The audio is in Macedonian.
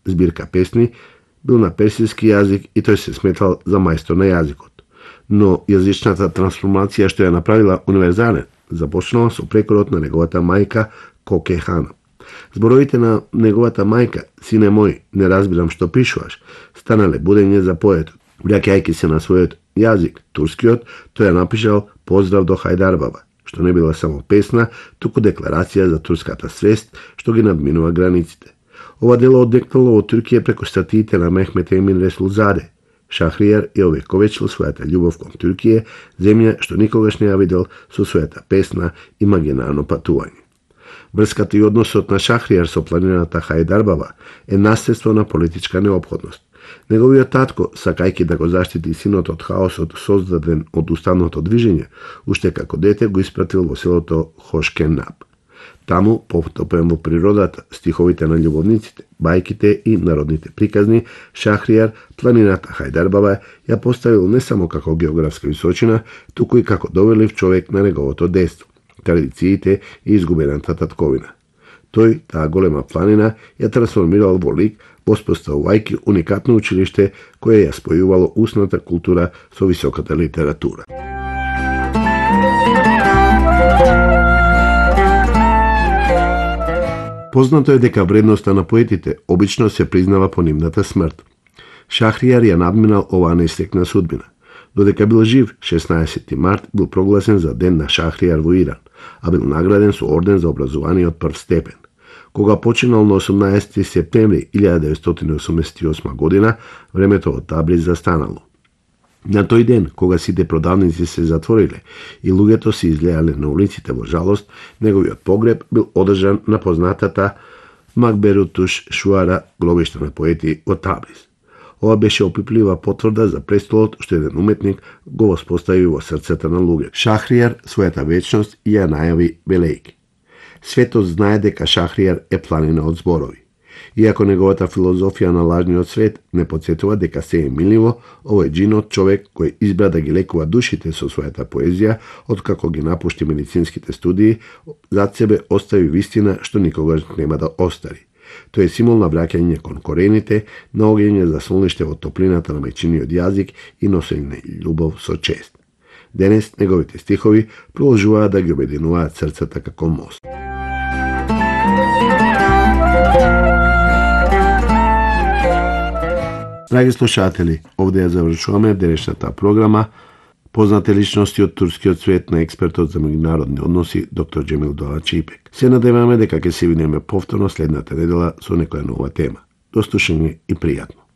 збирка песни, бил на персиски јазик и тој се сметал за мајстор на јазикот. Но јазичната трансформација што ја направила универзален, започнала со прекорот на неговата мајка Коке Хана. Зборовите на неговата мајка, сине мој, не разбирам што пишуваш, станале будење за поетот. Враќајќи се на својот јазик, турскиот, тој ја напишал Поздрав до Хајдарбаба, што не била само песна, туку декларација за турската свест, што ги надминува границите. Ова дело одекнало од Туркија преку статиите на Мехмет Емин Ресулзаде. Шахријар ја овековечил својата љубов кон Туркија, земја што никогаш не ја видел, со својата песна Имагинарно патување. Врската и односот на Шахријар со планината Хајдарбаба е наследство на политичка неопходност. Неговиот татко, сакајќи да го заштити синот од хаосот создаден од уставното движење, уште како дете го испратил во селото Хошкенаб. Таму, потопен во природата, стиховите на љубовниците, бајките и народните приказни, Шахријар планината Хајдарбаба ја поставил не само како географска височина, туку и како доверлив човек на неговото детство, традициите и изгубената татковина. Тој, таа голема планина, ја трансформирал во лик, воспоставувајќи уникатно училиште кое ја спојувало устната култура со високата литература. Познато е дека вредноста на поетите обично се признава по нивната смрт. Шахријар ја надминал оваа несреќна судбина. Додека бил жив, 16 март бил прогласен за ден на Шахријар во Иран, а бил награден со орден за образование од прв степен. Кога починал на 18 септември 1988 година, времето од Табриз застанало. На тој ден, кога сите продавници се затвориле и луѓето се излеале на улиците во жалост, неговиот погреб бил одржан на познатата Макберутуш Шуара, гробиште на поети од Табриз. Ова беше опиплива потврда за престолот што еден уметник го воспостави во срцата на луѓето. Шахријар својата вечност ја најави велејки. Светот знае дека Шахријар е планина од зборови. Иако неговата филозофија на лажниот свет не потсетува дека се е миливо, овој джинот човек кој избра да ги лекува душите со својата поезија, откако ги напушти медицинските студии, зад себе остави вистина што никогаш нема да остари. Тој е символ на враќање кон корените, на огење за солниште во топлината на мајчиниот јазик и носење љубов со чест. Денес неговите стихови продолжуваат да ги обединуваат срцата како мост. Драги слушатели, овде ја завршуваме денешната програма. Познати личности од турскиот свет на експертот за меѓународни односи доктор Џемил Долачипек. Се надеваме дека ќе се видиме повторно следната недела со некоја нова тема. До слушање и пријатно.